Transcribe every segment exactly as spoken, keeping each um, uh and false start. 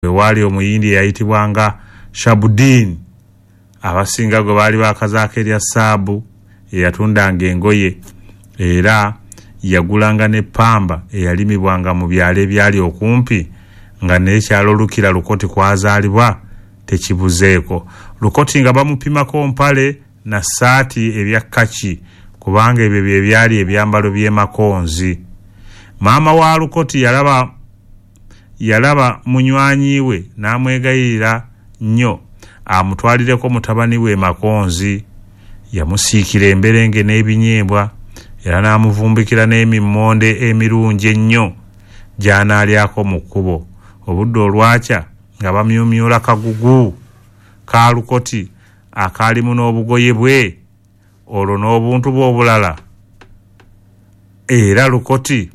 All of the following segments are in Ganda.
Wewaali Omuyindi eyayitibwanga Shabudin, abasinga gwe baali bakazaako erya Saabu, eyatundanga engoye era yagulanga n'eppamba eyalimibwanga mu byalo ebyali okumpi nga n'ekyalo Lukira Lukoti kwazaalibwa tekibuzeeko. Lukoti nga bamupimako mpale na ssaati ebya kaki, kubanga ebyo bye byali ebyambalo by'e Makonzi. Maama wa Lukoti yalaba yalaba munywanyi we n'amwegayirira nnyo amutwalireko mutabani we Makonzi. Yamusiikira emberenge n'ebinyeebwa era n'amuvumbikira n'emimmonde emirungi ennyo gy'anaalyako mu kkubo. Obudde olwakya nga bamyumyula kagugu ka Lukoti akaalimu n'obugoye bwe olwo n'obuntu bwe obulala, era Lukoti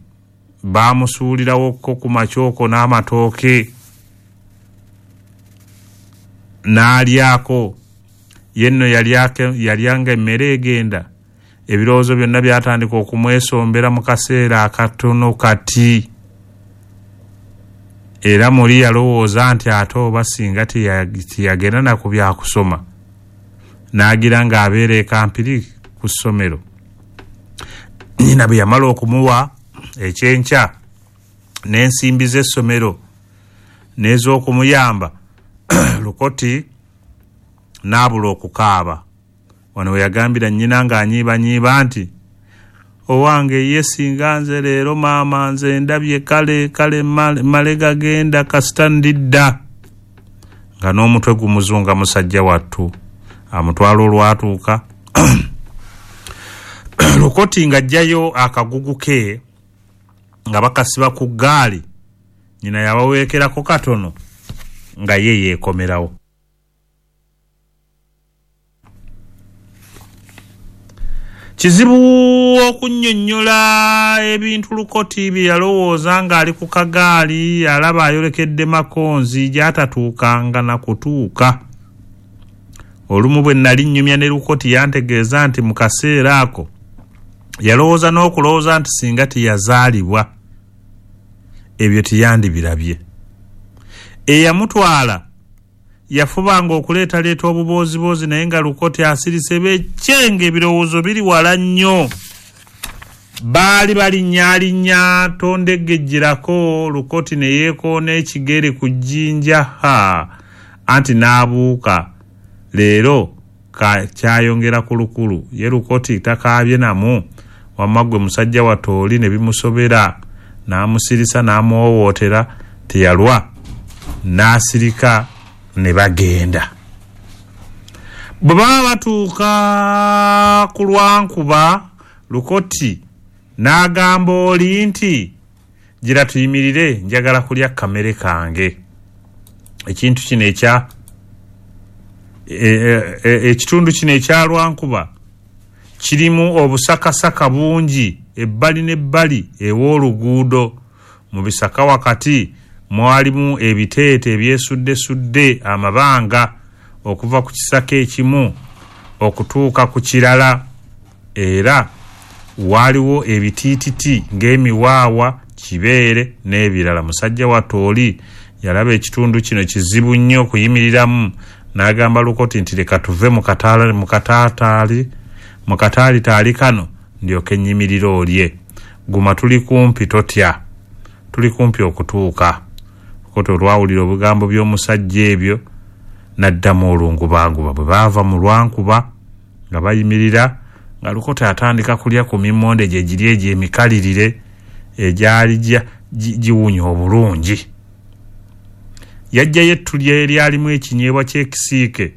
baamusuulirawokko ku makyoko n'amatooke n'alyako. Ye nno yalyanga emmere egenda, ebirowoozo byonna byatandika okumwesombera mu kaseera akatono kati. Era muli yalowooza nti ate oba singa teyagenda na ku byakusoma, n'agira ng'abeera e Kampiri ku ssomero. Nnyina bwe yamala okumuwa ekyenkya n'ensimbi z'essomero n'ez'okumuyamba, Lukoti n'abula okukaaba. Wano we yagambira nnyina ng'anyiibanyiiba nti, owange ye singa nze leero maama nze ndabye kale kale male gagenda kasita ndidda. Nga n'omutwe gumuzunga musajja wattu. Amutwala olwatuuka Lukoti ng'aggyayo akagugu ke nga bakasiba ku ggaali, nnyina yabaweekerako katono nga ye yeekomerawo. Kizibu okunnyonnyola ebintu Lukoti bye yalowooza ng'ali ku kagaali alaba ayolekedde Makonzi gy'atatuukanga na kutuuka. Olumu bwe nali nnyumya ne Lukoti yantegeeza nti mu kaseera ako yalowooza n'okulowooza nti singa teyazaalibwa ebyo teyandibirabye. Eyamutwala yafubanga okuleetaleeta obubooziboozi, naye nga Lukoti asirise bekyenge, ebirowoozo biri wala nnyo. Baali balinnyalinnya tondegejjerako, Lukoti ne yeekoona ekigere ku jjinja, ha anti n'abuuka. Leero kyayongera ku lukulu, ye Lukoti takaabye namu, wamma ggwe musajja wattu oli ne bimusobera, n'amusirisa n'amuwowootera, teyalwa n'asirika ne bagenda. Bwe baba batuuka ku Lwankuba, Lukoti n'agamba oli nti, gira tuyimirire, njagala kulya kamere kange. Ekintu kino ekya ekitundu kino ekya Lwankuba kirimu obusakasaka bungi ebbali n'ebbali ew'oluguudo. Mu bisaka wakati mwalimu ebiteete ebyesuddesudde amabanga okuva ku kisaka ekimu okutuuka ku kirala, era waaliwo ebitiititi ng'emiwaawa, kibeere n'ebirala. Musajja wattu oli yalaba ekitundu kino kizibu nnyo okuyimiriramu, n'agamba Lukoti nti leka tuve mu kataataali mu kataalitaali kano ndyoke nnyimirire olye. Guma tuli kumpi, totya, tuli kumpi okutuuka. Lukoti olwawulira obugambo by'omusajja ebyo n'addamu olungubanguba. Bwe baava mu Lwankuba nga bayimirira, nga Lukoti atandika kulya ku mimmonde gye giri egyo emikalirire egyali giwunya obulungi. Yajjayo ettu eryalimu ekinyeebwa ky'ekisiike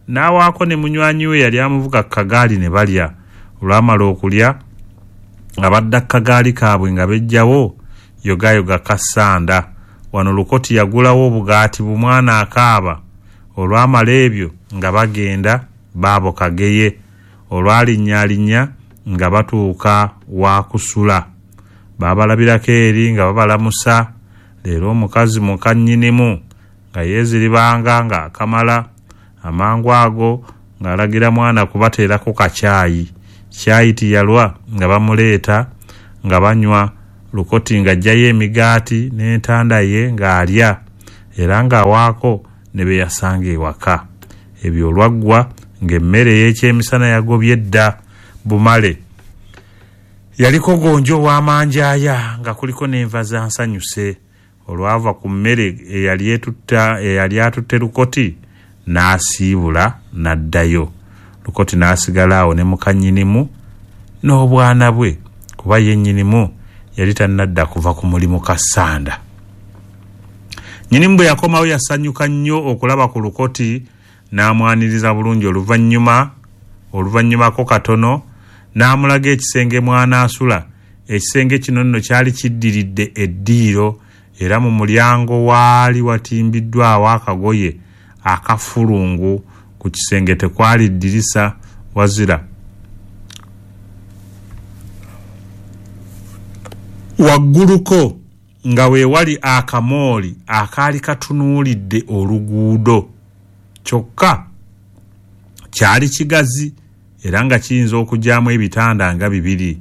n'awaako ne munywanyi we yali amuvuga ku kagaali ne balya. Olwamala okulya nga badda ku kagaali kaabwe nga beggyawo yogayoga kassanda. Wano Lukoti yagulawo obugaati bumwana akaaba. Olwamala ebyo nga bagenda baabo Kageye. Olwalinnyalinnya nga batuuka wa kusula. Baabalabirako eri nga babalamusa. Leero omukazi muka nnyinimu nga yeeziribanga ng'akamala amangu ago ng'alagira mwana kubateerako kacaayi. Kyayi teyalwa nga bamuleeta nga banywa. Lukoti ng'aggyayo emigaati n'entanda ye ng'alya. era ng'awaako ne be yasanga ewaka. Ebyo olwaggwa ng'emmere ey'ekyemisana yagobye dda bumale. Yaliko gonja ow'amanjaaya nga kuliko n'enva za nsanyuse. Olwava ku mmere eyali etutta eyali atutte Lukoti n'asiibula n'addayo. Lukoti n'asigala awo ne muka nnyinimu n'obwana bwe, kuba ye nnyinimu yali tannadda kuva ku mulimu Kassanda. Nnyinimu bwe yakomawo yasanyuka nnyo okulaba ku Lukoti n'amwaniriza bulungi. Oluvannyuma oluvannyumako katono n'amulaga ekisenge mw'anaasula. Ekisenge kino nno kyali kiddiridde eddiiro, era mu mulyango waali watimbiddwawo akagoye akafulungu. Ku kisenge tekwali ddirisa wazira wagguluko nga we wali akamooli akaali katunuulidde oluguudo. Kyokka kyali kigazi era nga kiyinza okugyamu ebitanda nga bibiri.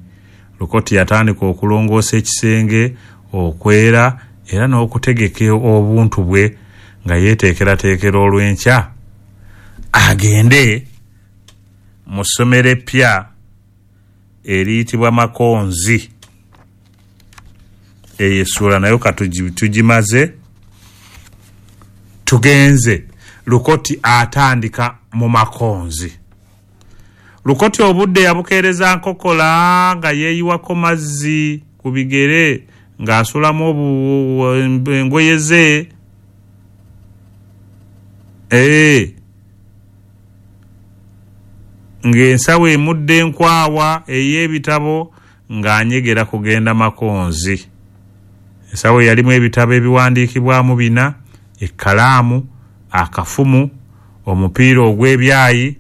Lukoti yatandika okulongoosa ekisenge, okwera era n'okutegeka obuntu bwe nga yeeteekerateekera olw'enkya agende mu ssomero eppya eriyitibwa Makonzi. Eyo essuula nayo katugimaze, tugenze. Lukoti atandika mu Makonzi. Lukoti obudde yabukeereza nkokola nga yeeyiwako mazzi ku bigere ng'asulamu engoye ze. Ee, ng'ensawo emudde enkwawa ey'ebitabo ng'anyegera kugenda Makonzi. Ensawo yalimu ebitabo ebiwandiikibwamu bina, ekkalaamu, akafumu, omupiira ogw'ebyayi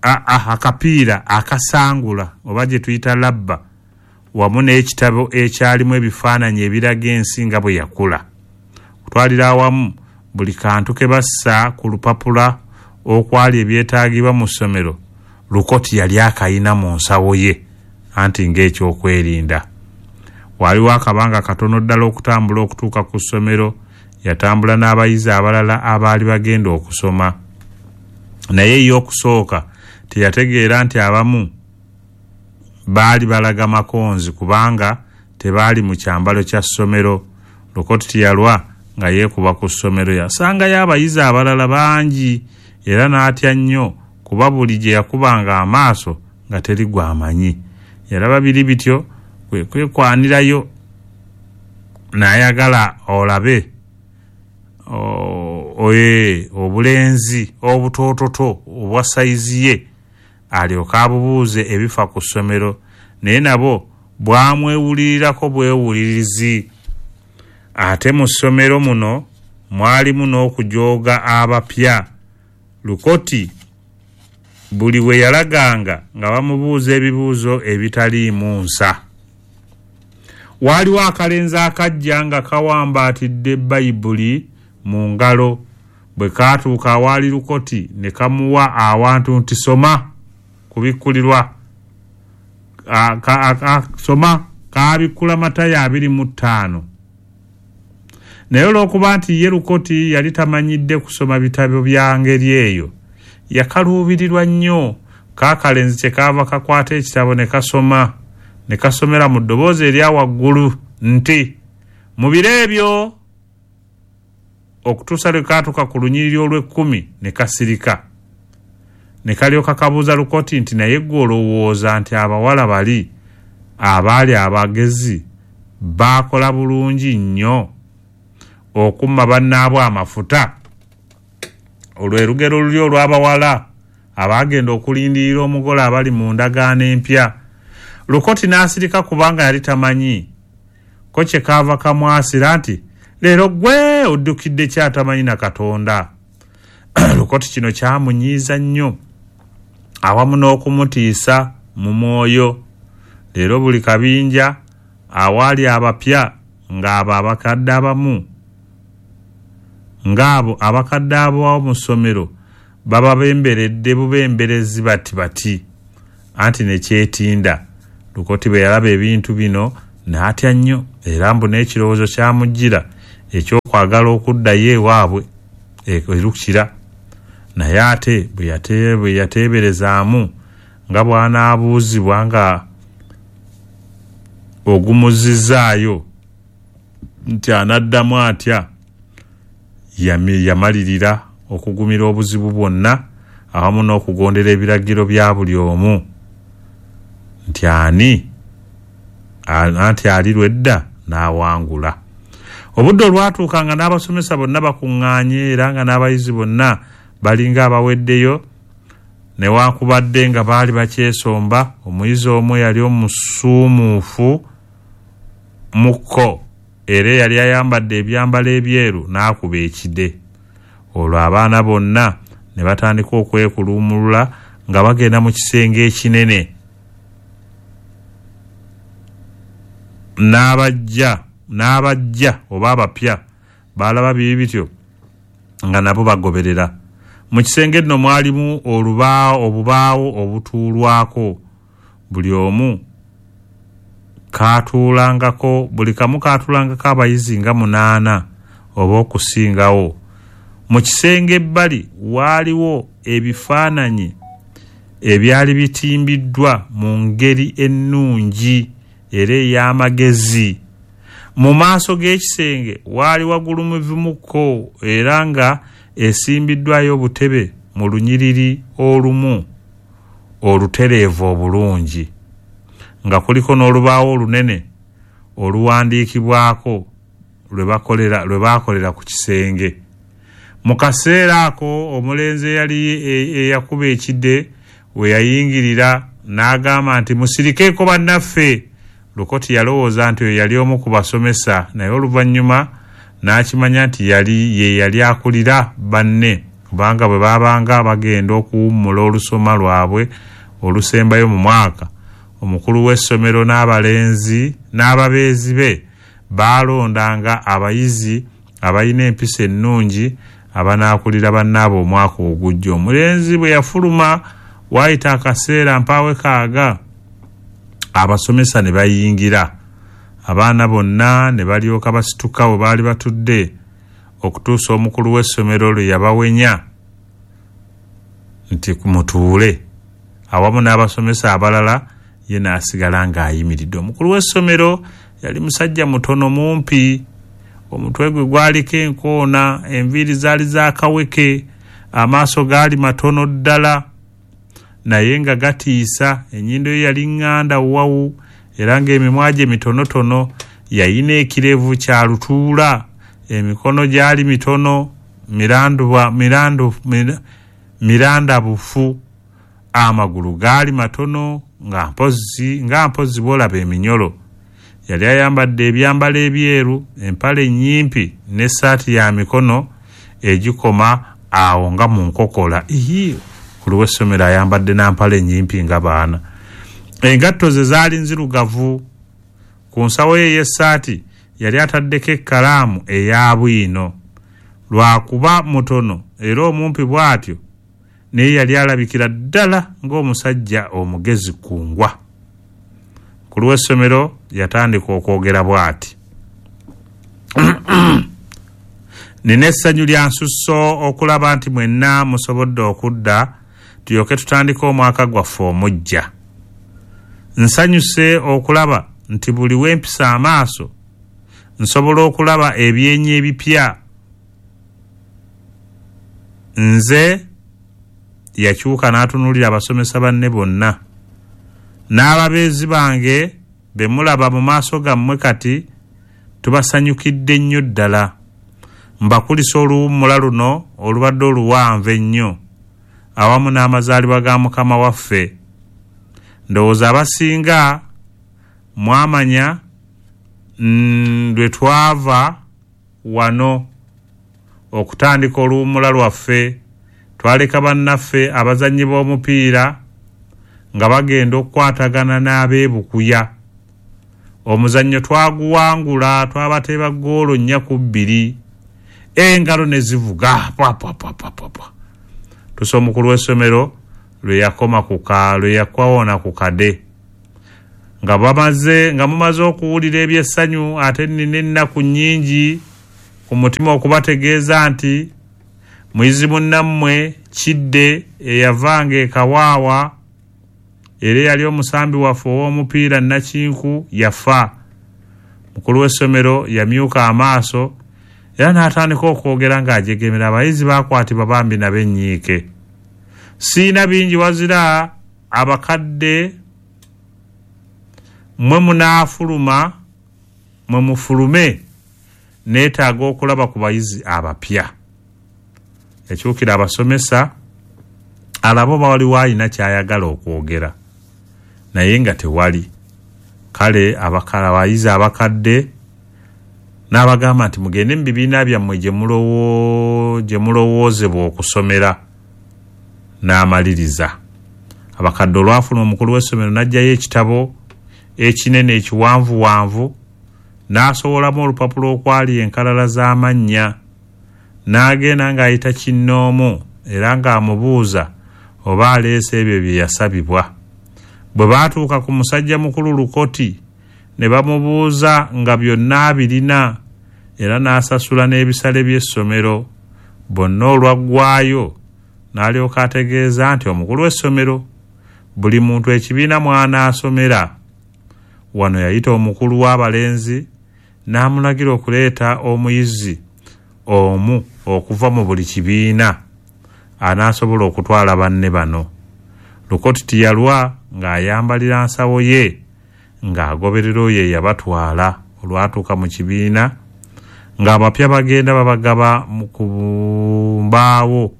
akapiira akasangula oba gye tuyita labba, wamu n'ekitabo ekyalimu ebifaananyi ebiraga ensi nga bwe yakula. Okutwalira awamu buli kantu ke bassa ku lupapula okwali ebyetaagibwa mu ssomero, Lukoti yali akayina mu nsawo ye, anti ng'ekyokwerinda. Waaliwo akabanga katono ddala okutambula okutuuka ku ssomero. Yatambula n'abayizi abalala abaali bagenda okusoma, naye ye okusooka teyategeera nti abamu baali balaga Makonzi kubanga tebaali mu kyambalo kya ssomero. Lukoti teyalwa nga yeekuba ku ssomero, yasangayo abayizi abalala bangi era n'atya nnyo kuba buli gye yakubanga amaaso nga teri gw'amanyi. Yalaba biri bityo kwe kwekwanirayo n'ayagala olabe oye obulenzi obutoototo obwa sayizi ye alyoke abubuuze ebifa ku ssomero, naye nabo bwamwewulirirako bwewulirizi. Ate mu ssomero muno mwalimu n'okujooga abapya. Lukoti buli we yalaganga nga bamubuuza ebibuuzo ebitaliimu nsa. Waaliwo akalenzi akajja nga kawambaatidde Bayibuli mu ngalo. Bwe kaatuuka awaali Lukoti ne kamuwa awantu nti soma kubikkulirwa, soma. Kaabikkula Matayo abiri mu ttaano. Naye olw'okuba nti ye Lukoti yali tamanyidde kusoma bitabo bya ngeri eyo, yakaluubirirwa nnyo. Kaakalenzi kye kaava kakwata ekitabo ne kasoma, ne kasomera mu ddoboozi erya waggulu nti mu biro ebyo, okutuusa lwe kaatuuka ku lunyiriri olw'ekkumi ne kasirika. Ne kalyoka kabuuza Lukoti nti naye ggwe olowooza nti abawala bali abaali abagezi baakola bulungi nnyo okumma bannaabwe amafuta? Olwo erugero luli olw'abawala abaagenda okulindirira omugole abali mu ndagaano empya. Lukoti n'asirika kubanga yali tamanyi. Ko kye kaava kamwasira nti leero ggwe oddukidde kyatamanyi na Katonda. Lukoti kino kyamunyiiza nnyo awamu n'okumutiisa mu mwoyo. Leero buli kabinja awaali abapya ng'abo abakadde abamu ng'abo abakadde abawo mu ssomero bababemberedde bubemberezi bati bati, anti ne kyetinda. Lukoti bwe yalaba ebintu bino n'atya nnyo, era mbu n'ekirowoozo kyamujjira ekyokwagala okuddayo ewaabwe erukira. Naye ate bwe yateeberezaamu nga bw'anaabuuzibwa nga ogumuzizzaayo nti anaddamu atya, yamalirira okugumira obuzibu bwonna awamu n'okugondera ebiragiro bya buli omu nti ani anti ali lwedda n'awangula. Obudde olwatuuka nga n'abasomesa bonna bakuŋŋaanye era nga n'abayizi bonna balinga abaweddeyo, newankubadde nga baali bakyesomba, omuyizi omu yali omusuumuufu mukko era eyali ayambadde ebyambalo ebyeru n'akuba ekide. Olwo abaana bonna ne batandika okwekuluumulula nga bagenda mu kisenge ekinene. N'abajja n'abajja oba abapya baalaba bibi bityo nga nabo bagoberera. Mu kisenge nno mwalimu olubaawo obubaawo obutuulwako, buli omu kaatuulangako buli kamu kaatuulangako abayizi nga munaana oba okusingawo. Mu kisenge ebbali waaliwo ebifaananyi ebyali bitimbiddwa mu ngeri ennungi era ey'amagezi. Mu maaso g'ekisenge waali wagulumivuko era nga esimbiddwayo obutebe mu lunyiriri olumu olutereevu obulungi, nga kuliko n'olubaawo olunene oluwandiikibwako lwe bakolera lwe baakolera ku kisenge. Mu kaseera ako omulenzi eyali eyakuba ekide we yayingirira n'agamba nti musirikeeko bannaffe. Lukoti yalowooza nti oyo yali omu ku basomesa, naye oluvannyuma n'akimanya nti yali ye yali akulira banne, kubanga bwe baabanga bagenda okuwummula olusoma lwabwe olusembayo mu mwaka, omukulu w'essomero n'abalenzi n'ababeezi be baalondanga abayizi abalina empisa ennungi abanaakulira bannaabwe omwaka ogujja. Omulenzi bwe yafuluma waayita akaseera mpaawe kaaga, abasomesa ne bayingira. Abaana bonna ne balyoka basituka we baali batudde okutuusa omukulu w'essomero lwe yabawenya nti mutuule awamu n'abasomesa abalala, ye n'asigala ng'ayimiridde. Omukulu w'essomero yali musajja mutono mumpi, omutwe gwe gwaliko enkoona, enviiri zaali za kaweke, amaaso gaali matono ddala naye nga gatiisa, ennyindo ye yali ŋŋanda wawu era ng'emimwa gye mitonotono, yayina ekirevu kya lutuula, emikono gyali mitono miranduba mirandu mirandabufu, amagulu gaali matono nga mpozzi nga mpozzi bw'olaba eminyolo. Yali ayambadde ebyambalo ebyeru, empale nnyimpi n'essaati ya mikono egikoma awo nga mu nkokola. Ii, mukulu w'essomero ayambadde n'empale nnyimpi nga baana. Engatto ze zaali nzirugavu. Ku nsawo ye ey'essaati yali ataddeko ekkalaamu eya bwino. Lwakuba mutono era omumpi bw'atyo, naye yali alabikira ddala ng'omusajja omugezi kungwa. Mukulu w'essomero yatandika okwogera bw'ati: nina essanyu lya nsusso okulaba nti mwenna musobodde okudda tulyoke tutandike omwaka gwaffe omuggya. Nsanyuse okulaba nti buli wempisa amaaso nsobola okulaba ebyenyi ebipya. Nze yakyuka n'atunuulira abasomesa banne bonna n'ababeezi bange be mulaba mu maaso gammwe kati tubasanyukidde nnyo ddala. Mbakulisa oluwummula luno olubadde oluwanvu ennyo awamu n'amazaalibwa ga Mukama waffe. Ndowooza abasinga mwamanya lwe twava wano okutandika oluwummula lwaffe. Twaleka bannaffe abazannyi b'omupiira nga bagenda okukwatagana n'abeebukuya. Omuzannyo twaguwangula, twabateeba ggoolo nnya ku bbiri, engalo ne zivuga pwa pwa pwa pwa pwa. Tusa omukulu w'essomero lwe yakoma ku ka lwe yakwawona ku kade. Nga bamaze nga mumaze okuwulira ebyessanyu, ate nnina ennaku nnyingi ku mutima okubategeeza nti muyizi munnammwe Kidde eyavanga e Kawaawa era eyali omusambi waffe ow'omupiira Nakinku yafa. Mukulu w'essomero yamyuka amaaso era n'atandika okwogera ng'ajegemera. Abayizi baakwatibwa bambi nabo ennyiike. Siina bingi wazira abakadde mmwe munaafuluma mwe mufulume, neetaaga okulaba ku bayizi abapya. Yakyukira abasomesa alaba oba waliwo alina ky'ayagala okwogera, naye nga tewali. Kale abayizi abakadde n'abagamba nti mugende mu bibiina byammwe gye mulowoozebwa okusomera. N'amaliriza. Abakadde olwafuluma, omukulu w'essomero n'aggyayo ekitabo ekinene ekiwanvuwanvu n'asowolamu olupapula okwali enkalala z'amannya, n'agenda ng'ayita kinnoomu era ng'amubuuza oba aleese ebyo bye yasabibwa. Bwe baatuuka ku musajja mukulu Lukoti ne bamubuuza nga byonna abirina era n'asasula n'ebisale by'essomero. Bonna olwaggwayo n'alyoka ategeeza nti omukulu w'essomero buli muntu ekibiina mw'anaasomera. Wano yayita omukulu w'abalenzi n'amulagira okuleeta omuyizi omu okuva mu buli kibiina anaasobola okutwala banne bano. Lukoti teyalwa ng'ayambalira nsawo ye ng'agoberera oyo eyabatwala. Olwatuuka mu kibiina ng'abapya bagenda babagaba ku mbaawo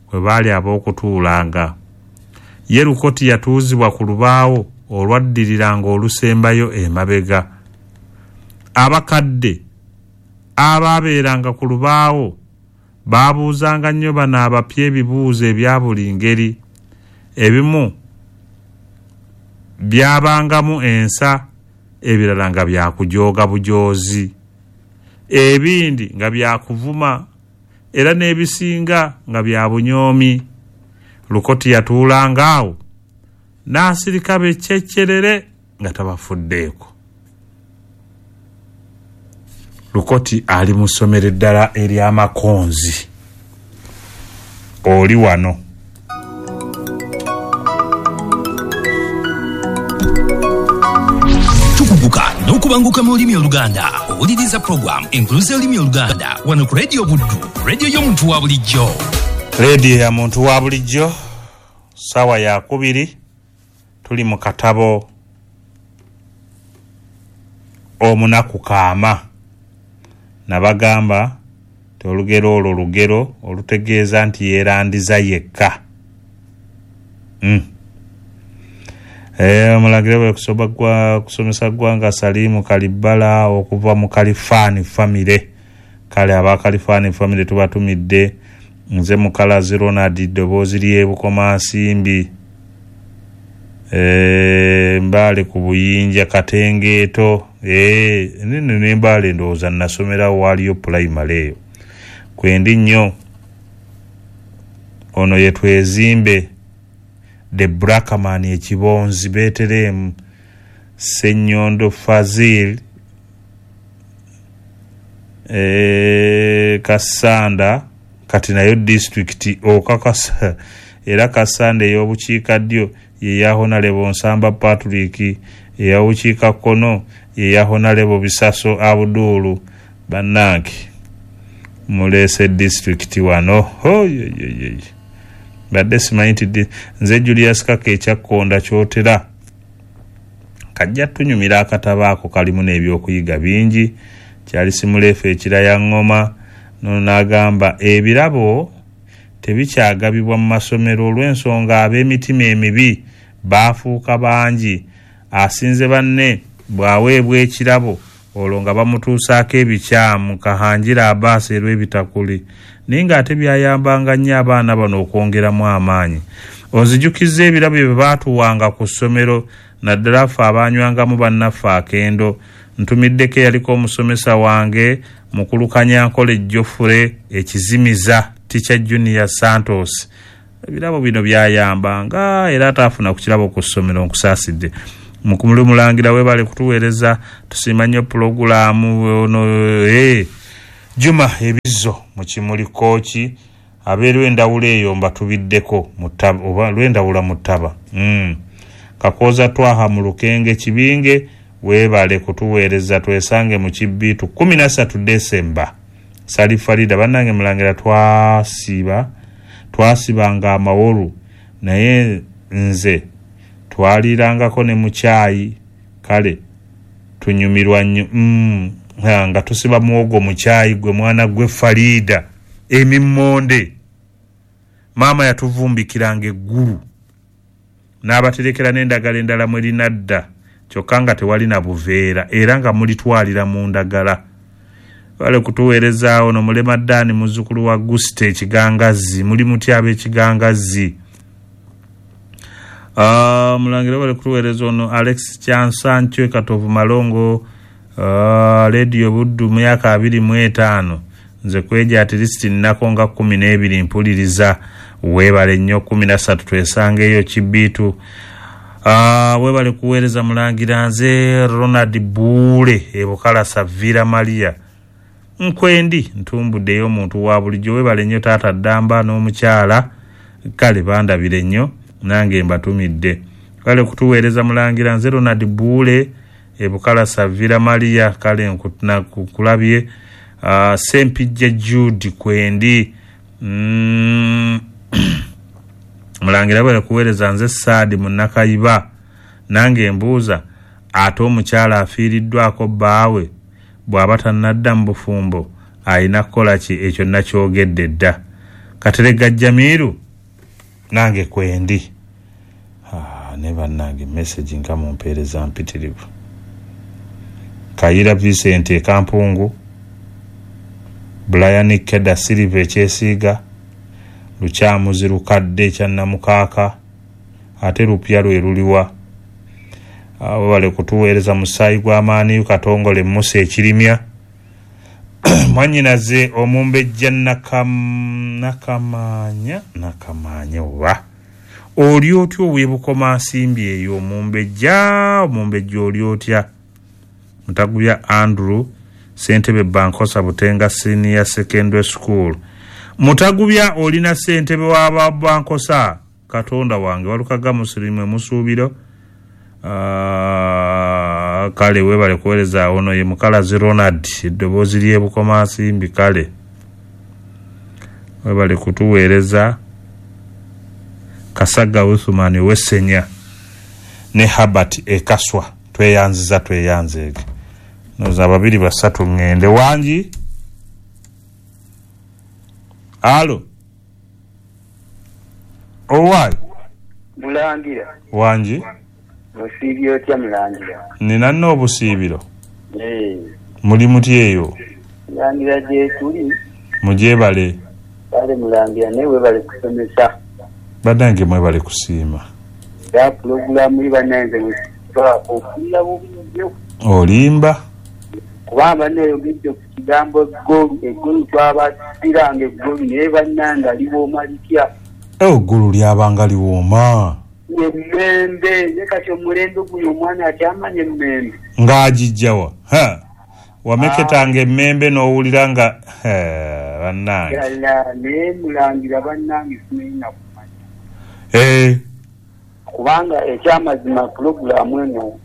kwe baali ab'okutuulanga. Ye Lukoti yatuuzibwa ku lubaawo olwaddiriranga olusembayo emabega. Abakadde abaabeeranga ku lubaawo baabuuzanga nnyo bano abapya ebibuuzo ebya buli ngeri. Ebimu byabangamu ensa, ebirala nga byakujooga bujoozi, ebindi nga byakuvuma, era n'ebisinga nga bya bunyoomi. Lukoti yatuulanga awo n'asirika bekyekkerere nga tabafuddeeko. Lukoti ali mu ssomero eddala ery'Amakonzi. Oli wano. Tukuguka n'okubanguka mu lulimi Oluganda. Owuliriza program enkuluza y'olulimi Oluganda wano ku Radio Buddu, radio y'omuntu wa bulijjo. Radio ya muntu wa bulijjo, ssaawa ya kubiri, tuli mu katabo Omunaku Kaama. Nabagamba nti olugero olwo lugero olutegeeza nti yeerandiza yekka. Mm. Eh, omulangire bwe kusoba gwa kusomesa ggwanga Salimu Kalibbala okuva mu Kalifani family. Kale aba Kalifani family tubatumidde. Nze Mukalazi Ronald eddoboozi ly'e Bukomansimbi. Eh, Mbale ku Buyinja Katengeeto. Eh, nno ne Mbale ndowooza nasomerawo waaliyo pulayimale eyo. Kwendi nnyo. Ono ye Twezimbe the Blackman ekibonzi Beterehemu Ssenyondo Fazil eh, Kassanda kati nayo disitulikiti okakasa era Kassanda ey'obukiikaddyo ye ya Honorable Nsamba Patrick, ey'obukiikakkono ye ya Honorable Bisaso Abdul. Bannange muleese disitulikiti wano. Hoyoyoyoyo, badde simanyi nti nze Julius Kaka ekyakkonda kyotera kajja tunyumira akatabo ako kalimu n'ebyokuyiga bingi. Kyali simuleefu ekiraya ngoma nono n'agamba ebirabo tebikyagabibwa mu masomero olw'ensonga ab'emitima emibi baafuuka bangi. Asinze banne bw'aweebwa ekirabo olwo nga bamutuusaako ebikyamu. Kahangira Abaasi erw'ebitakuli, naye ng'ate byayambanga nnyo abaana bano okwongeramu amaanyi. Onzijukizza ebirabo bye baatuwanga ku ssomero, naddala ffe abaanywangamu bannaffe akendo. Ntumiddeko eyaliko omusomesa wange mukulu Kanyankole Geoffrey ekizimiza Teacher Junior Santos. Ebirabo bino byayambanga era ataafuna ku kirabo ku ssomero. Nkusaasidde. Mukulu Mulangira webale kutuweereza, tusiima nnyo pulogulaamu ono. Eh, Juma ebizzo mu Kimuli Kooki abeerwa endawula eyo mbatubiddeko oba lwendawula mu ttaba. Mm. Kakooza Twaha mu Lukenge Kibinge weebale kutuweereza, twesange mu Kibbiitu kumi na ssatu Desemba. Sali Farida bannange mulangira twasiba twasibanga amawolu naye nze twalirangako ne mu kyayi, kale tunyumirwa nnyo. Mm, nga tusiba muwogo mu kyayi gwe mwana gwe Farida emimmonde maama yatuvumbikiranga eggulu n'abaterekera n'endagala endala mwe linadda, kyokka nga tewali na buveera era nga mulitwalira mu ndagala. Wale kutuweerezaawo no Mulema Ddaani muzzukulu wa Guste Ekigangazi, muli mutya ab'Ekigangazi? Uh, mulangira wale kutuweereza ono Alex Kyansankyo Katovu Malongo, uh, Radio Buddu myaka abiri mu etaano nze kweja at least nnako nga kkumi n'ebiri mpuliriza. Weebale nnyo, kkumi na ssatu twesangeeyo Kibbiitu. Uh, weebale kuweereza mulangira nze Ronald Buule e Bukalasa Villa Maria nkwendi ntumbuddeyo omuntu wa bulijjo. Weebale nnyo taata Ddamba n'omukyala, kale bandabire nnyo nange mbatumidde. Kale kutuweereza mulangira nze Ronald Buule e Bukalasa Villa Maria, kale nkulabye. Uh, Sempijja Jude kwendi. mm. Mulangira bwere kuweereza nze Saadi Munnakayiba nange mbuuza ate omukyala afiiriddwako bbaawe bw'aba tannadda mu bufumbo alina kukola ki? Ekyo nakyogedde dda. Katerega Jamiru nange kwendi. Ah, ne bannange message nga mumpeereza mpitirivu. Kayira Vincent e Kampungu, Brian Keda Silva Ekyesiiga, Lukyamuzi Lukadde ekya Namukaaka, ate lupya lwe luliwa. Abo bale kutuweereza musaayi gw'amaanyi Katongole Musa Ekirimya. Mwannyinaze omumbejja Nakam Nakamaanya Nakamaanya oba oli otya ow'e Nsimbi eyo omumbejja omumbejja oli otya? Mutagubya Andrew ssentebe Bankosa Butenga Senior Secondary School. Mutagubya olina ssentebe wa Bankosa, Katonda wange walukaga musirimu musuubiro. Uh, kale webale kuweereza ono ye Mukalazi Ronald eddoboozi ly'e Bukomansimbi, kale webale kutuweereza. Kasaga Uthumani Wesenya ne Habert Ekaswa, tweyanziza tweyanzeege noza babiri basatu ŋŋende wangi. Alo owaayi Mulangira wangi osiibye otya Mulangira? Nina nno obusiibiro. Eh. Muli mutya eyo? Mulangira gye tuli. Mugyebale. Kale Mulangira naye weebale kusomesa. Bannange mwebale kusiima. Era pulogulaamu yi bannange okuwulira bubi nnyo. Olimba? Kubanga banneeyogedde ku kigambo eggolu, eggolu twabasiranga eggolu naye bannange liwooma litya? Eggulu lyabanga liwooma. Emmembe, naye kati omulembe guno omwana akyamanya emmembe. Ng'agijjawa? Ha! Wameketanga emmembe n'owulira nga bannange. Ddala naye Mulangira bannange simanyi na kumanya. Eh. Kubanga ekyamazima pulogulaamu eno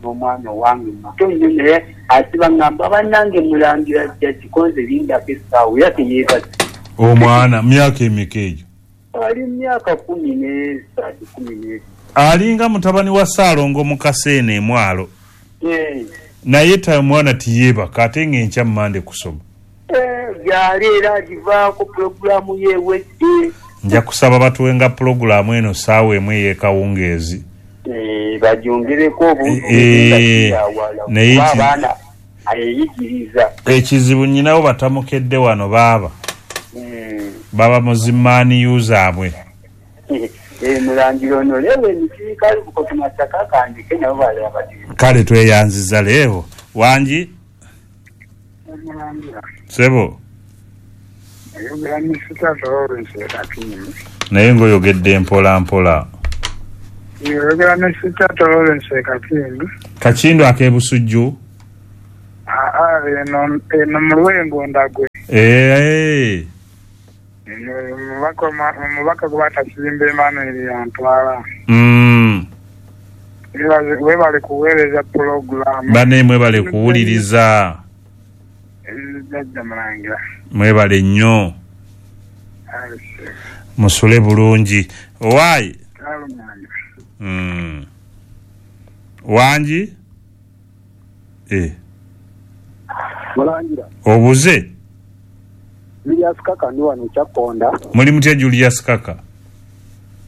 n'omwana owange muto nnyo naye asiba ngamba bannange Mulangira jja kikonze lindako essaawa era teyeebase. Omwana myaka emeka egyo? Ali myaka kumi n'esatu kumi n'ebiri. Alinga mutabani wa Ssaalongo mu Kaseene emwalo. Eh. Naye ta mwana tiyeebaka ate ng'enkya Mmande kusoma. Eh, gyali era agivaako pulogulaamu ye ewedde. Nja kusaba batuwenga pulogulaamu eno ssaawa emu ey'ekawungeezi. Eh, bagyongereko obuntu Eh, naye kuba abaana ayeyigiriza. Ekizibu nnyinawo batamukedde wano baaba. Mm. Baba muzimaani zaabwe. Eh, Mulangira ono leero emiti kali Bukoto Masaka kandike nabo balaba bati. Kale tweyanziza leero. Wangi? Mulangira. Ssebo. Ayogera Misita Lawrence Kakindu. Naye ng'oyogedde mpola mpola. Ayogera Misita Lawrence Kakindu. Kakindu ak'e Busujju? Aa eno eno mu Lwengo Ndagwe. Eh. Omubaka omubaka gwe batakizimba Emmanuel yantwala. Mm. Webale kuweereza pulogulaamu. Banne mwebale kuwuliriza. Jjajja Mulangira. Mwebale nnyo. Musule bulungi. Owaayi. Mm. Wangi? Eh. Mulangira. Obuze? Julius Kaka ndi wano Kyakkonda. Muli mutya Julius Kaka?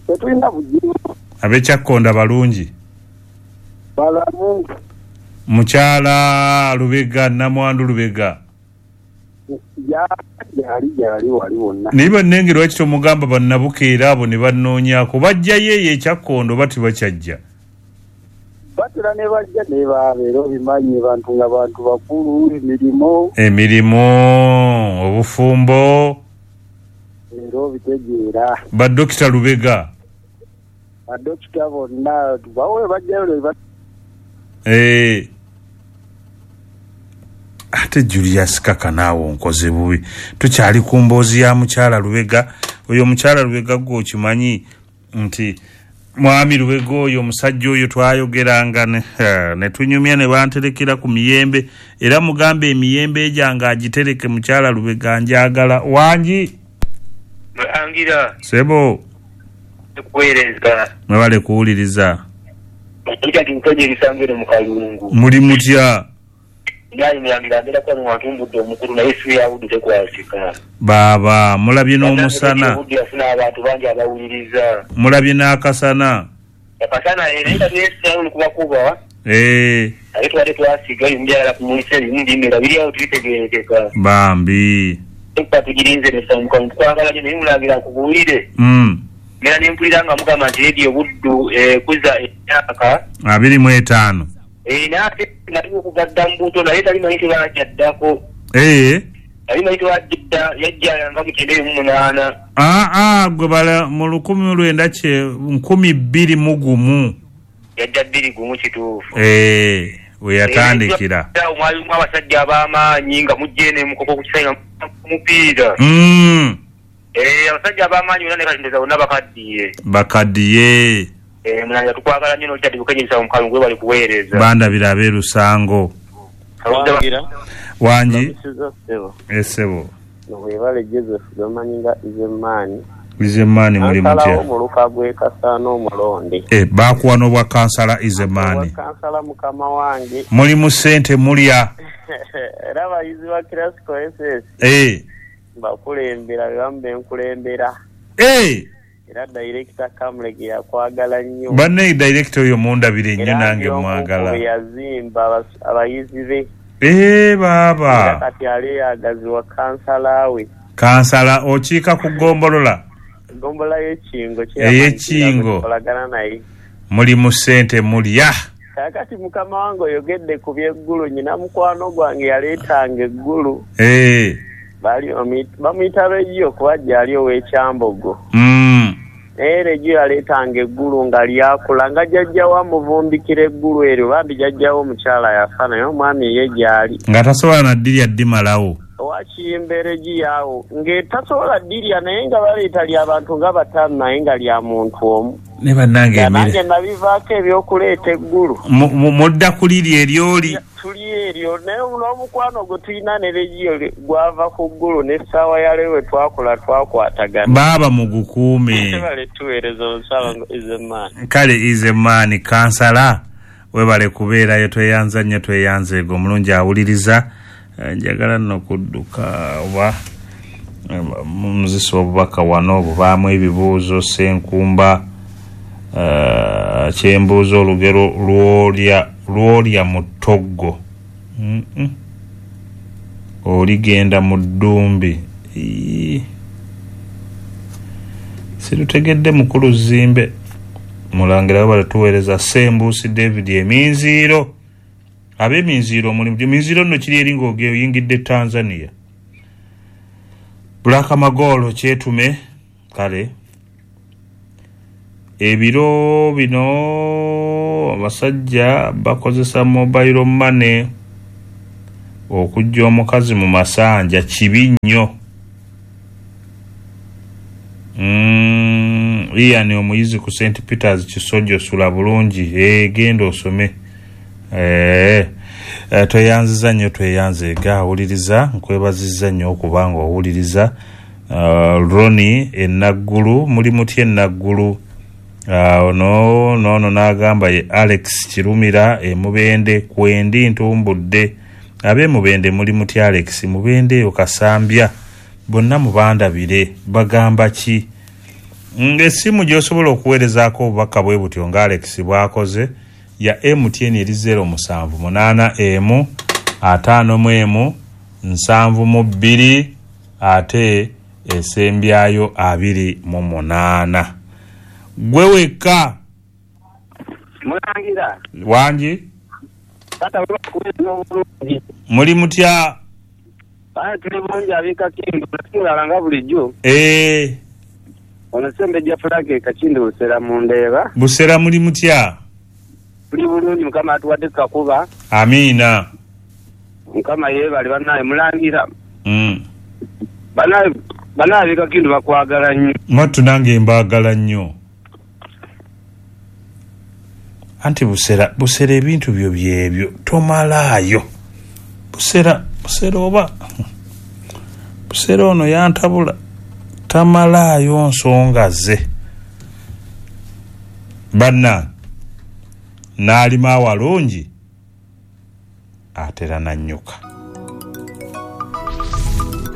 Tetulina buzibu. Ab'e Kyakkonda balungi? Balamu. Mukyala Lubega, Namwandu Lubega. Ya yali yali wali wonna. Naye bannange lwaki tomugamba bannabukeera abo ne bannoonyaako bajjayo eyo e Kyakkondo oba tebakyajja? Batera ne bajja ne babeera obimanyi bantu nga bantu bakulu emirimu. Emirimu, obufumbo. Era obitegeera. Ba Dokita Lubega. Ba Dokita bonna bawe bajjayo ne Eh. Ate Julius Kaka naawe onkoze bubi. Tukyali ku mboozi ya mukyala Lubega. Oyo mukyala Lubega gwe okimanyi nti mwami Lubega oyo omusajja oyo twayogeranga ne, ne tunyumya ne banterekera ku miyembe era mugambe emiyembe egyange agitereke mukyala Lubega njagala. Wangi? Mulangira. Sebo. Kuweereza. Mwebale kuwuliriza. Muli mutya? Baaba mulabye n'omusana. Mulabye n'akasana. Eh. Bambi. Mm. Mera nempulira nga mugamba nti Radio Buddu ekuza emyaka abiri mu etaano. Eh, nate nali okuva dda mu buto naye tali manyi tebajjaddako. Eh. Tali manyi tebajjadda yajja nga mu kyenda mu munaana. Ah ah gwe bala mu lukumi lwenda kye nkumi bbiri mu gumu. Yajja bbiri gumu kituufu. Eh, we yatandikira. Eh, mwalimu abasajja ab'amaanyi nga mujje ne mukoko ku kisaawe nga mupiira. Mm. Eh, abasajja ab'amaanyi bonna ne kati bonna bakaddiye. Bakaddiye. Eh, mulanga tukwagala nnyo n'okyadde bukenyeza mu kalungu bali kuweereza. Bandabira ab'e Lusango. Wangi? Esebo. Webale Joseph gamanyi nga Izemaani. Izemaani muli mutya? Omuluka gw'e Kasaana omulonde. Eh, baakuwa n'obwa kansala Izemaani. Kansala mukama wange. Muli mu ssente mulya. Era abayizi ba Classical S S. Eh. Bakulembera be bamu benkulembera. Eh. Era director Kamulege yakwagala nnyo. Banne director oyo mundabire nnyo nange mwagala. Yazimba abayizi be. Eh baaba. Kati ali agaziwa kansala we. Kansala okiika ku ggombolola. Ggombolola y'Ekingo. Ey'Ekingo. Kolagana naye. Muli mu ssente mulya. Kakati mukama wange oyogedde ku by'eggulu nnyina mukwano gwange yaleetanga eggulu. Eh. Bali bamuyita Reggio kuba gyali ow'Ekyambogo. Mm. Naye Reggio yaleetanga eggulu nga lyakula nga jjajjawo amuvumbikira eggulu eryo bambi jjajjawo omukyala yafa naye omwami ye gyali. Nga tasobola na ddirya ddimalawo. Owakiyimba Reggio awo ng'etasobola ddirya naye nga baleeta lya bantu nga bataano naye nga lya muntu omu. Ne bannange emere. Nange nabivaako eby'okuleeta eggulu. Mudda kulirya eryoli. Tuli eryo naye n'omukwano gwe tulina ne Reggio gwava ku ggulu n'essaawa ya leero we twakola twakwatagana. Baaba mugukuume. Webale tuweereza omusawo Izemaani. Kale Izemaani kansala webale kubeerayo tweyanza nnyo tweyanzeego omulungi awuliriza. Njagala nno kudduka oba muzisa obubaka wano bubaamu ebibuuzo Ssenkumba. Uh, kyembuuza olugero lwolya lwolya mu ttoggo. Mm -mm. Oligenda mu ddumbi. Sirutegedde mukulu Zimbe. Mulangira webale tuweereza Ssembuusi David Eminziiro. Ab'eminziiro mulimu eminziiro nno kiri eri ng'oyingidde Tanzania. Black Magolo kyetume kale. Ebiro bino abasajja bakozesa mobile money Okujja omukazi mu masanja kibi nnyo. Mm, Ian omuyizi ku Saint Peters Kisojo, sula bulungi, eh, genda osome. Eh, eh, tweyanziza nnyo, tweyanzeega awuliriza, nkwebazizza nnyo okubanga owuliriza. Uh, Roni enaggulu, muli mutya enaggulu? Uh, ono nono n'agamba ye Alex Kirumira emubende, kwendi ntumbudde. Ab'emubende muli mutya? Alex Mubende eyo Kasambya, bonna mubandabire bagamba ki? Ng'essimu gy'osobola okuweerezaako obubaka bwe butyo nga Alex bw'akoze ya M T N eri zero musanvu munaana emu ataano mu emu nsanvu mu bbiri ate esembyayo abiri mu munaana. Gwe wekka Mulangira wangi muli mutya? Tuli bulungi ab'e Kakindu, tulala bulijjo. Eh, ono Ssembejja Frank Kakindu Busera mu Ndeeba. Busera muli mutya? Tuli bulungi, Mukama atuwadde kakuba. Amiina. Mukama yeebale bannaye Mulangira. Mm. Bannaye bannaye ab'e Kakindu bakwagala nnyo. Mwattu nange mbaagala nnyo. Anti Busera, Busera ebintu byo byebyo tomalaayo. Busera, Busera oba Busera ono yantabula tamalaayo nsonga ze. Banna n'alima awalungi atera nannyuka.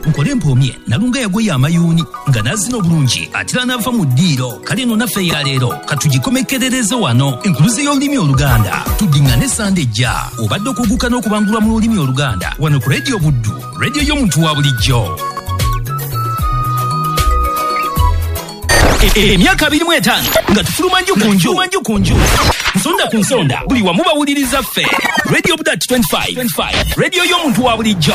Nkole mpoomye nalunga yagoye amayuuni nga nazina obulungi atera n'ava mu ddiiro. Kale eno naffe ya leero katugikomekerereze wano. Enkuluze y'olulimi Oluganda tuddiŋŋane Sande ejja. Obadde okuguka n'okubangulwa mu lulimi Oluganda wano ku Radio Buddu, radio y'omuntu wa bulijjo. Emyaka abiri mu etaano nga tufuluma nju ku nju, nju ku nju, nsonda ku nsonda, buli wamu bawuliriza ffe. Radio Buddu twenty-five, radio y'omuntu wa bulijjo.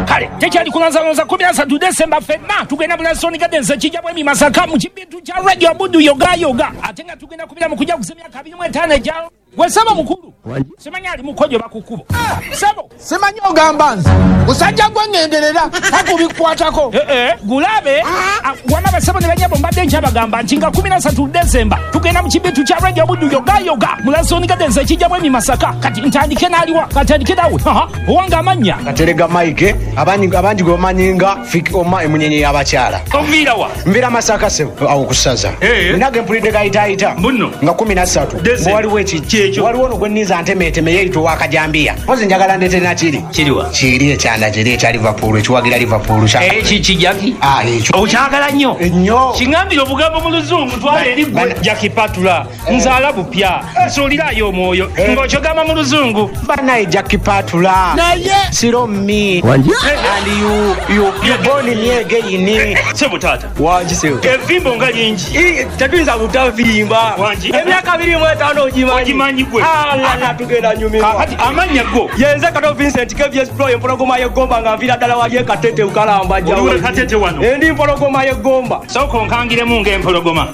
Kale tekyali kulanzalonza kumi na ssatu Desemba ffenna tugenda mu Lansoni Gardens ekijja bwemi Masaka mu kibintu kya Radio Buddu yoga yoga, ate nga tugenda kubira mu kujaguza emyaka abiri mu etaano egya gwe ssebo mukulu. Simanyi ali mukojo bakukubo ssebo, simanyi ogamba nze musajja gwe ŋŋenderera takubikwatako. Eh eh, gulabe wama basebo ne banyabo mbadde nkyabagamba nti nga kumi na ssatu Desemba tugenda mu kibintu kya Radio Buddu yoga yoga mu Lansoni Gardens ekijja bwemi Masaka. Kati ntandike n'aliwa, katandike nawe owanga amannya Katerega Mike, abangi abangi gwe bamanyi nga Fik Oma emunyenye y'abakyala. Onviira wa? Nviira Masaka ssebo awo ku ssaza. Nage mpulidde gayitaayita nga kumi na ssatu waliwo ekijja, waliwo ono gwe nninza ntemeeteme yeeyita ow'akajambiya. Mpozi njagala ndeete nakiri. Kiriwa? Kiri ekyanda kiri ekya Liverpool, ekiwagira Liverpool. Eki kijaki? Ah, ekyo. Okyagala nnyo? Nnyo. Kiŋŋambire obugambo mu Luzungu twala eri gwe. Jackie Patula, nzaala bupya, nsuulirayo omwoyo ng'okyogamba mu Luzungu. Bannaye Jackie Patula. Naye. Siro me. And you, you, you born me again. Sebo taata. Wangi sebo. Evimbo nga lingi. Tetuyinza butavimba. Wangi. Emyaka abiri mu etaano ogimanyi. Ogimanyi gwe. Ala tugenda nyumirwa. Kakati amannya go. Yenze Kato Vincent K V S Pro empologoma y'eggomba nga nviira ddala wali e Katete Ukalamba jjawo. Oliwe Katete wano. Endi mpologoma y'eggomba. Sooka onkangiremu ng'empologoma.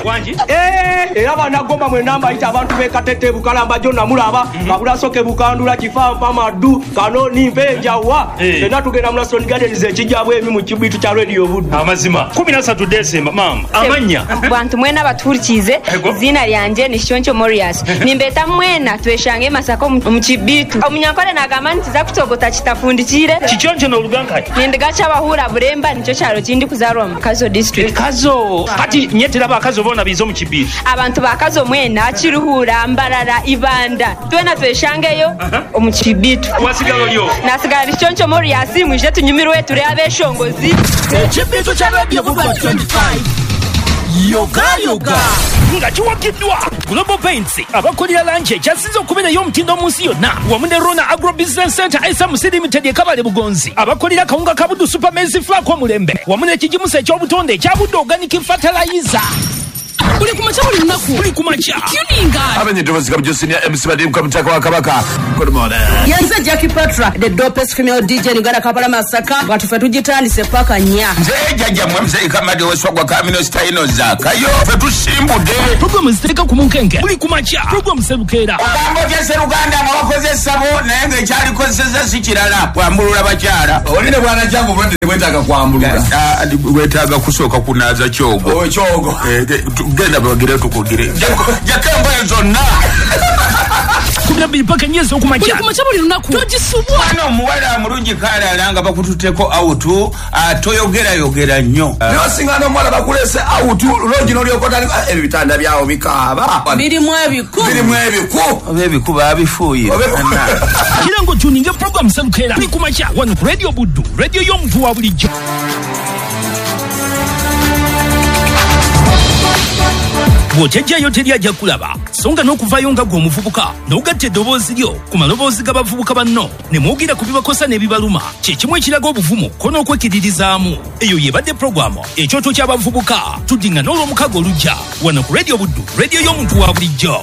Wangi. Eh, era bannagomba mwenna mbayita abantu b'e Katete Bukalamba jjo namulaba. Kabulasoke Bukandula Kifampa Maddu Kanoni Mpenjawa. Fenna tugenda mu Lansoni Gardens ekijja bwemi mu kibitu kya Radio Buddu. Amazima. kumi na ssatu Desemba maama. Amannya. Bantu mwena batuhurikize izina lyanje ni Shoncho Morias. Nimbeta mwena tweshange Masaka mu kibitu. Omunyankole nagamba nti za kutogota kitafundikire. Kichoncho n'oluganka. Nindiga kyabahura Buremba nicyo kyalo kindi kuzarwa mu Kazo district. Kazo. Kati nyetera bakazo bona bizo mu kibitu. Abantu bakazo mwena Kiruhura, Mbarara, Ibanda. Twena tweshangeyo omu kibitu. Wasigalo lyo. Nasigala Shoncho Morias mwije tunyumirwe turi abeshongozi. Ekibitu kya Radio Buddu twenty-five. Yoga yoga nga kiwagiddwa Global Paints abakolera langi ekyasinze okubeerayo omutindo mu nsi yonna wamu ne Rona Agro Business Center S M C Limited e Kabale Bugonzi abakolera kawunga ka Buddu Super Maize Flour k'omulembe wamu n'ekigimusa eky'obutonde ekya Buddu Organic Fertilizer. Buli kumakya buli lunaku. Buli kumakya. Tuninga. Abenye Dovozi Kabjo Senior M C Badimu Kamutaka wa Kabaka. Good morning. Yenze Jackie Patra, the dopest female D J in Uganda, Kampala Masaka. Watu tujitandise paka nya. Nze jajja mwe mzee Kamadi weswagwa Kamino Staino Zakayo. Ffe tusimbudde. Programu zitereka ku munkenke. Buli kumakya. Programu Serukera. Ogambo bya Seruganda nga wakoze essabo naye ng'ekyalikozesezza si kirala. Kwambulula bakyala. Olina bwana kyangu obulwadde bwetaaga kwambulula. Bwetaaga kusooka kunaaza kyogo. Oh, kyogo. Genda bagire tukugire. Jjako engoye zonna. Kumi na bbiri paka nnya ez'okumakya. Buli kumakya buli lunaku. Togisubwa. Mwana omuwala mulungi kalala nga bakututteko awutu, toyogerayogera nnyo. Naye osingana omuwala bakuleese awutu, loogi n'olyoka otandika ebitanda byawo bikaaba. Birimu ebiku. Birimu ebiku. Oba ebiku baabifuuyira. Kira ng'otuninga programu Serukera. Buli kumakya wano ku Radio Buddu, radio y'omuntu wa bulijjo. Bw'otejjayo teri ajja kulaba, so nga n'okuvaayo nga ggwe omuvubuka n'ogatta eddoboozi lyo ku maloboozi g'abavubuka banno ne mwogera ku bibakosa n'ebibaluma, kye kimu ekiraga obuvumu ko n'okwekiririzaamu. Eyo y'ebadde puroguramu Ekyoto ky'Abavubuka. Tuddingana olw'omukago olujja wano ku Radio Buddu, radio y'omuntu wa bulijjo.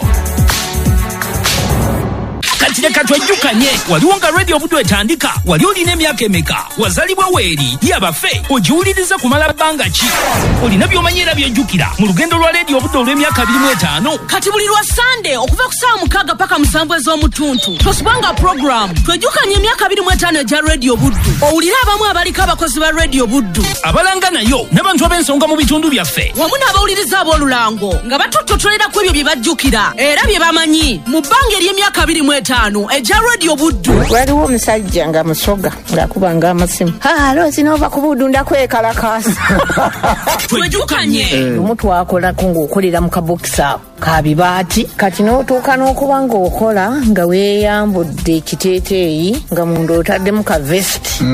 Kati leka twejjukanye, waliwo nga Radio Buddu etandika, wali olina emyaka emeka, wazaalibwa weeri, yabaffe, ogiwuliriza kumala bbanga ki? Olina by'omanyi era by'ojjukira mu lugendo lwa Radio Buddu olw'emyaka abiri mu etaano. Kati buli lwa Sande okuva ku ssaawa mukaaga paka musanvu ez'omutuntu tosubwanga puroguramu twejjukanye emyaka abiri mu etaano egya Radio Buddu. Owulire abamu abaliko abakozi ba Radio Buddu abalanga nayo n'abantu ab'ensonga mu bitundu byaffe wamu n'abawuliriza ab'olulango nga batutotolera ku ebyo bye bajjukira era bye bamanyi mu bbanga ery'emyaka abiri mu etaano egya Radio Buddu. Waliwo omusajja nga musoga ng'akubanga amasimu. Alo zino ku Buddu ndakwekalakaasa. Twejjukanye. Lumu twakolako ng'okolera mu kabokisi ako ka bibaati, kati n'otuuka n'okuba ng'okola nga weeyambudde ekiteeteeyi nga munda otaddemu ka vesiti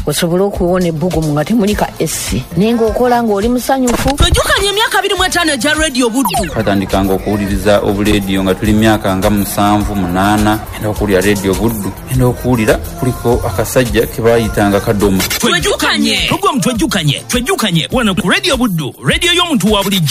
osobole okuwona ebbugumu nga temuli ka esi, naye ng'okola ng'oli musanyufu. Twejjukanye emyaka abiri mu etaano egya Radio Buddu. Twatandikanga okuwuliriza obuleediyo nga tuli myaka nga musanvu munaana, enda okuwulira Radio Buddu, enda okuwulira kuliko akasajja ke baayitanga Kadoma. Twejjukanye. Programu Twejjukanye, twejjukanye wano ku Radio Buddu, radio y'omuntu wa bulijjo.